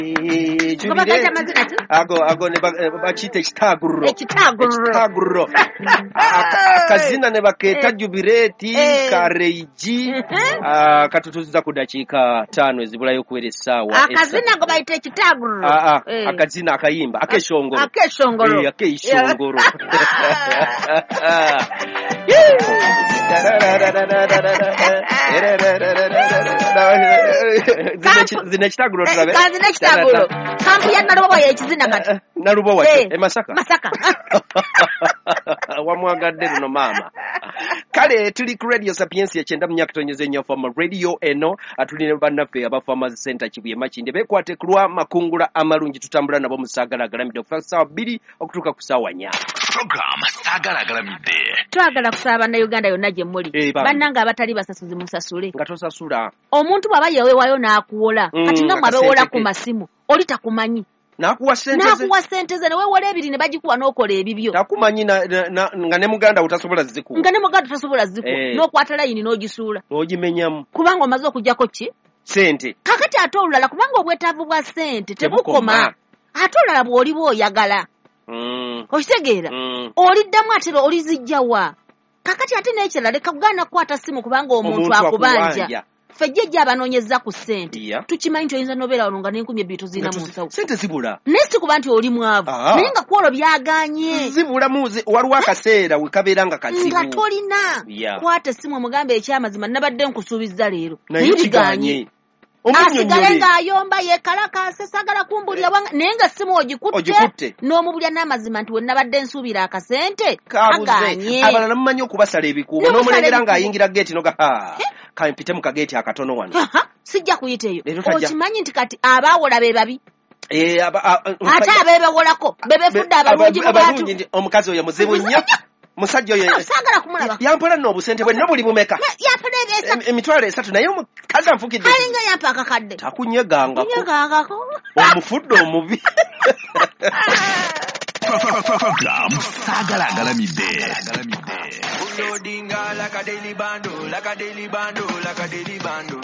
Ngo amazina ki? Ago ne bakiyita ekitaaguliro. Ekitaaguliro. Ekitaaguliro. Akazina ne bakeeta Jubireeti Kareiji. Katutuuziza ku dakiika 5 ezibulayo okuwera essaawa. Akazina ngo bayita ekitaaguliro. Akazina akayimba akeshongolo. Akeshongolo. Akeshongolo. Zina ekitaaguliro tulabe. Zina ekitaaguliro. Kampu ya Nalubowa y'ekizina kati. Nalubowa e Masaka. Masaka. Wamwagadde luno maama. Kale tuli ku Radio Sapiensia 90.4 FM radio eno, tuli ne bannaffe aba Farmers Center Kibuye Makindye beekwate ku lwa makungula amalungi, tutambula nabo mu Saagala Agalamidde okuva ku ssaawa 2 okutuuka ku ssaawa 4. Program Saagala Agalamidde. Twagala kusaba bannayuganda yonna gye muli. Bannange abatali basasuzi musasule. Nga tosasula. Omuntu bw'aba yeweewayo n'akuwola, kati nga mwe abeewola ku masimu, oli takumanyi. Nakuwa sente ze. Nakuwa sente ze, ne weewola ebiri ne bagikuwa n'okola ebibyo. Takumanyi nga ne muganda utasobola zikuwa. Nga ne muganda utasobola zikuwa. N'okwata layini n'ogisuula. N'ogimenyamu. Kubanga omaze okuggyako ki? Sente. Kakati ate olulala kubanga obwetaavu bwa sente tebukoma. Ate olulala bw'oliba oyagala. Okitegeera? Oliddamu ate olizijja wa? Kakati ate n'ekirala leka kugaana kukwata ssimu kubanga omuntu akubanja. Ffe jjajja abanoonyeza ku ssente. Tukimanyi nti oyinza n'obeera wano nga n'enkumi ebbiri tozirina mu nsawo. Ssente zibula. Naye si kuba nti oli mwavu. Naye nga kwolwo byagaanye. Zibula waliwo akaseera we kabeera nga kazibu. Nga tolina. Kwata essimu omugambe ekyamazima nabadde nkusuubizza leero. Naye kigaanye. Asigale ng'ayomba yeekalakaase saagala kumbulira naye nga ssimu ogikutte n'omubulya n'amazima nti we nabadde nsuubira akasente kagaanye. Abalala mumanyi okubasala ebikuubo n'omulengera ng'ayingira geeti noga kampite mu kageeti akatono wano. Sijja kuyita eyo. Okimanyi nti kati abaawola be babi. Ate abeebewolako be beefudde abalungi mu bantu. Omukazi oyo muzibu nnyo. Musajja oyo saagala kumulaba. Yampola nno obusente bwe nno buli bumeka. Yampola ebesa. Emitwalo 3 naye omukazi anfukidde. Alinga yampa akakadde. Takunyegangako. Kunyegangako. Omufudde omubi. Program Saagala Agalamidde. Loading like a daily bando, like a daily bando, like a daily bando.